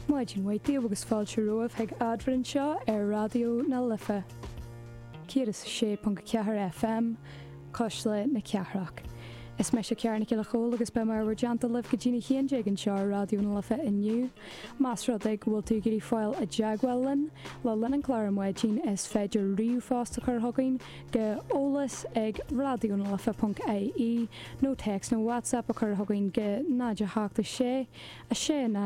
Maidin mhaith daoibh agus fáilte romhaibh chuig Adhmhaidin anseo ar Raidió na Life 106.4 FM, Cuisle na Cathrach. Is mise Ciara Nic Giolla Chóill agus beidh mé i bhur dteannta libh go dtí'n 11 anseo ar Raidió na Life inniu. Más rud é go bhfuil tú ag iarraidh fáil i dteagmháil linn le linn an chláir ar maidin is féidir ríomhphost a chur chugainn go eolas ag raidionalife.ie nó téacs nó WhatsApp a chur chugainn go 0 8 6 6 0 0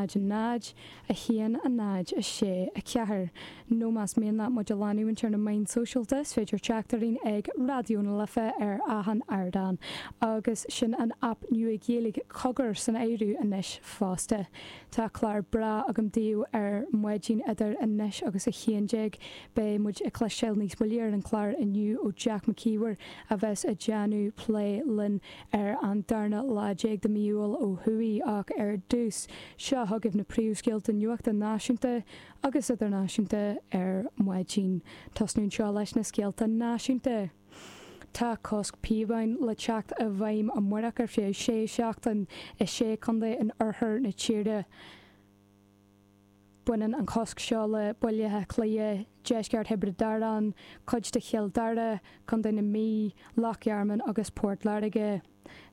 1 0 6 4 Nó más mian leat muid a leanúint ar na meáin sóisialta is féidir teacht orainn ag Raidió na Life ar achan ardán. Agus sin an aip nua Ghaeilge Cogar san áireamh anois fosta. Tá clár breá agam daoibh ar maidin idir anois agus 11. Beidh muid ag cloisteáil níos moille ar an chlár inniu ó Jack McKeever a bheas ag déanamh plé linn ar an darna lá déag de mhí Iúil ó thuaidh ach ar dtús, seo chugaibh na príomhscéalta nuachta náisiúnta agus idirnáisiúnta ar maidin. Tosnú anseo leis na scéalta náisiúnta. Tá cosc píobáin le teacht i bhfeidhm amárach ar feadh sé seachtain i sé chontae in oirthear na tíre. Baineann an cosc seo le Baile Átha Cliath, deisceart Thiobraid Árann, cuid de Chill Dara, Contae na Mí, Loch Garman agus Port Láirge.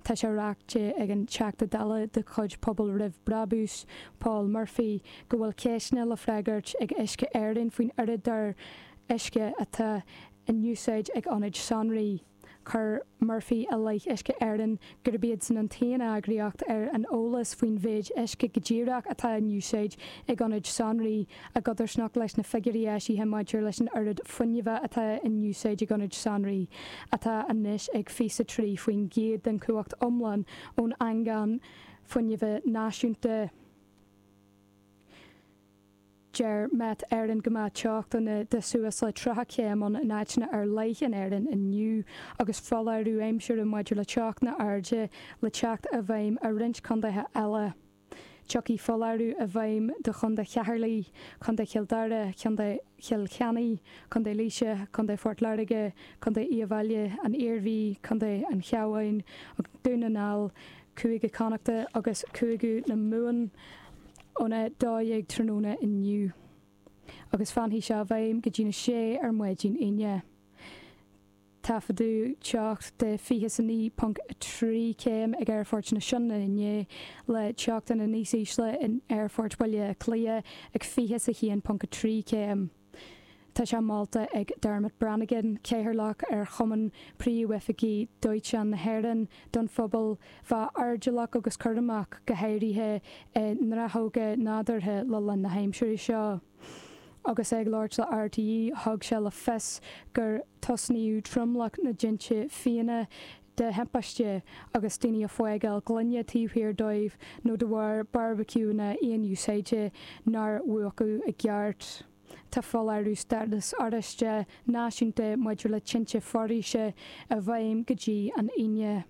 Tá sé ráite ag an Teachta Dála de chuid Pobal Roimh Brabús, Paul Murphy, go bhfuil ceisteanna le freagairt ag Uisce Éireann faoin oiread uisce atá in úsáid ag ionaid sonraí. Chuir Murphy i leith Uisce Éireann gurb iadsan an t-aon eagraíocht ar an eolas faoin mhéid uisce go díreach atá in úsáid ag ionaid sonraí, i gcodarsnacht leis na figiúirí eisithe maidir leis an oiread fuinnimhe atá in úsáid ag ionaid sonraí, atá anois ag 23% den chumhacht iomlán ón eangach fuinnimhe náisiúnta. Deir Met Éireann go mbeidh teochtanna de suas le 30 céim ann in áiteanna ar leith in Éirinn inniu agus foláireamh aimsire maidir le teochtanna airde le teacht i bhfeidhm i roinnt contaetha eile. Tiocfaidh foláireamh i bhfeidhm do Chontae Cheatharlach, Contae Chill Dara, Contae Chill Chainnigh, Contae Laoise, Contae Phort Láirge, Contae Uíbh Fhailí, an Iarmhí, Contae an Chabháin, Dún na nGall, Cúige Connachta agus Cúige na Mumhan óna 12 tráthnóna inniu agus fanfaidh sé i bhfeidhm go dtína sé ar maidin Aoine. Taifeadadh teocht de 29.3 céim ag Aerfort na Sionainne inné, le teochtanna níos ísle in Aerfort Bhaile Átha Cliath ag 21.3 céim. Tá sé molta ag Dermot Brannigan, Cathaoirleach ar Chumann Príomhoifigigh Dóiteáin na hÉireann, don phobal bheith airdeallach agus cúramach, go háirithe i ngnáthóga nádúrtha le linn na haimsire seo. Agus é ag labhairt le RTÉ, thug sé le fios gur tosnaíodh tromlach na dtinte fiáine de thimpiste agus daoine ag fágáil gloine taobh thiar dóibh nó de bharr beárbaiciúnna aon-úsáide nár mhúchadh i gceart. Tá foláireamh stádas oráiste náisiúnta maidir le tinte foraoise i bhfeidhm go dtí an Aoine.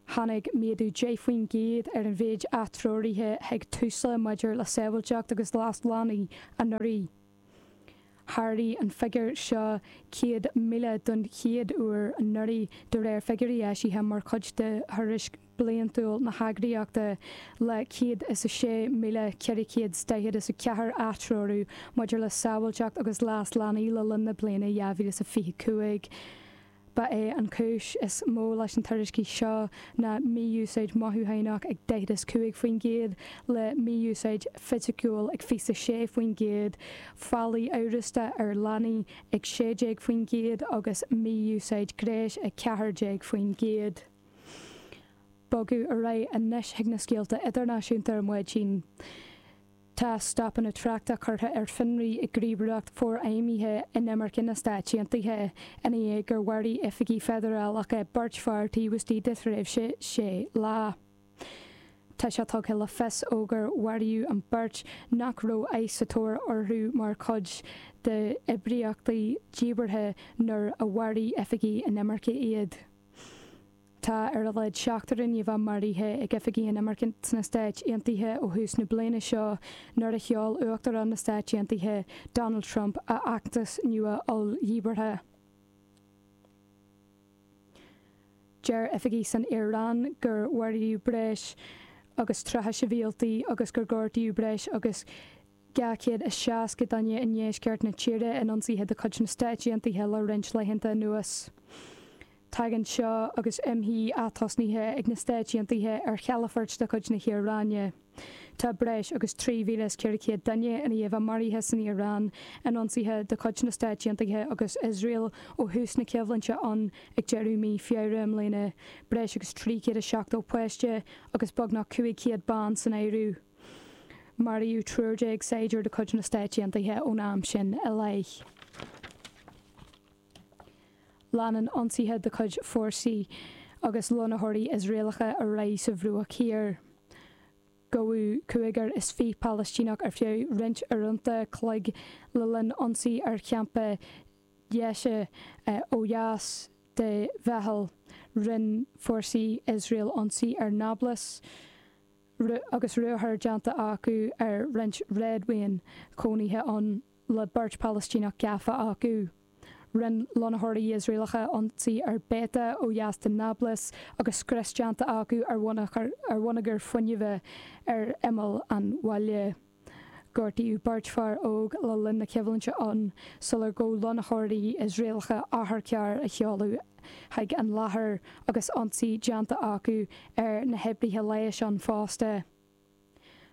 Tháinig méadú 10% ar an mhéid atreoruithe chuig Tusla maidir le sábháilteacht agus leas leanaí anuraidh. Sháraigh an figiúr seo 100,000 don chéad uair anuraidh, de réir figiúirí eisithe mar chuid de thuairisc bliantúil na heagraíochta, le 106,444 atreorú maidir le sábháilteacht agus leas leanaí le linn na bliana 2025. Ba é an chúis is mó leis na tuairiscí seo ná mí-úsáid mothúchánach ag 45%, le mí-úsáid fisiciúil ag 26%, faillí amhrasta ar leanaí ag 16% agus mí-úsáid gnéis ag 14%. Bogadh ar aghaidh anois chuig na scéalta idirnáisiúnta ar maidin. Tá stopanna tráchta curtha ar fionraí ag Gníomhaireacht Forfheidhmithe Inimirce na Stáit Aontaithe ina dhiaidh gur mharaigh oifigigh feidearálacha beirt fear taobh istigh de thréimhse sé lá. Tá sé tugtha le fios ó gur maraíodh an bheirt nach raibh ICE sa tóir orthu mar chuid d'oibríochtaí díbeartha nuair a mharaigh oifigigh inimirce iad. Tá ar a laghad seachtar duine a bheith maraithe ag oifigigh inimirce sna Stáit Aontaithe ó thús na bliana seo nuair a sheol Uachtarán na Stáit Aontaithe, Donald Trump, a fheachtas nua olldhíbeartha. Deir oifigigh san Iaráin gur maraíodh breis. agus 30 sibhialtaigh agus gur gortaíodh breis agus 260 duine i ndeisceart na tíre in ionsaithe de chuid na Stáit Aontaithe le roinnt laethanta anuas. Tagann seo agus imshuí atosnaithe ag na Stáit Aontaithe ar chalafoirt de chuid na hIaráine. Tá breis agus 3,400 duine i ndiaidh a bheith maraithe san Iaráin in ionsaithe de chuid na Stáit Aontaithe agus Iosrael ó thús na coimhlinte ann ag deireadh mí Feabhra i mbliana, breis agus 370 páiste agus beagnach 500 bean san áireamh. Maraíodh 13 saighdiúir de chuid na Stáit Aontaithe ón am sin i leith. Leanann ionsaithe de chuid fórsaí agus lonnaitheoirí Iosraelacha ar aghaidh sa Bhruach Thiar. Gabhadh 25 Palaistíneach ar feadh roinnt uaireanta cloig le linn ionsaí ar champa Dheisha ó dheas de Bheithil. Rinne fórsaí Iosrael ionsaí ar Nablus agus ruathar déanta acu ar roinnt réadmhaoin chónaithe ann. le beirt Phalaistíneach gafa acu. Rinne lonnaitheoirí Iosraelacha ionsaí ar Beita ó dheas de Nablus agus scrios déanta acu ar bhonneagar fuinnimh ar imeall an bhaile. Gortaíodh beirt fear óg le linn na coimhlinte ann sular ghabh lonnaitheoirí Iosraelacha otharcharr a sheoladh chuig an láthair agus ionsaí déanta acu ar na hoibrithe leighis ann fosta.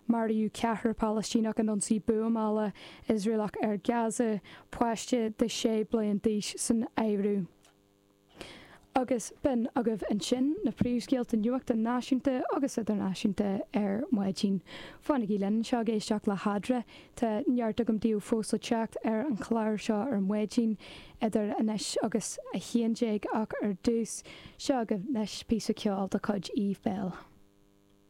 Maraíodh ceathrar Palaistíneach in ionsaí buamála Iosraelach ar Gaza, páiste de 6 bliain d'aois san áireamh. Agus b'in agaibh ansin na príomhscéalta nuachta náisiúnta agus idirnáisiúnta ar maidin. Fanaigí linn anseo ag éisteacht le hEadra. Tá neart agam daoibh fós le teacht ar an chlár seo ar maidin idir anois agus 11 ach ar dtús, seo agaibh anois píosa ceoil de chuid Eve Belle.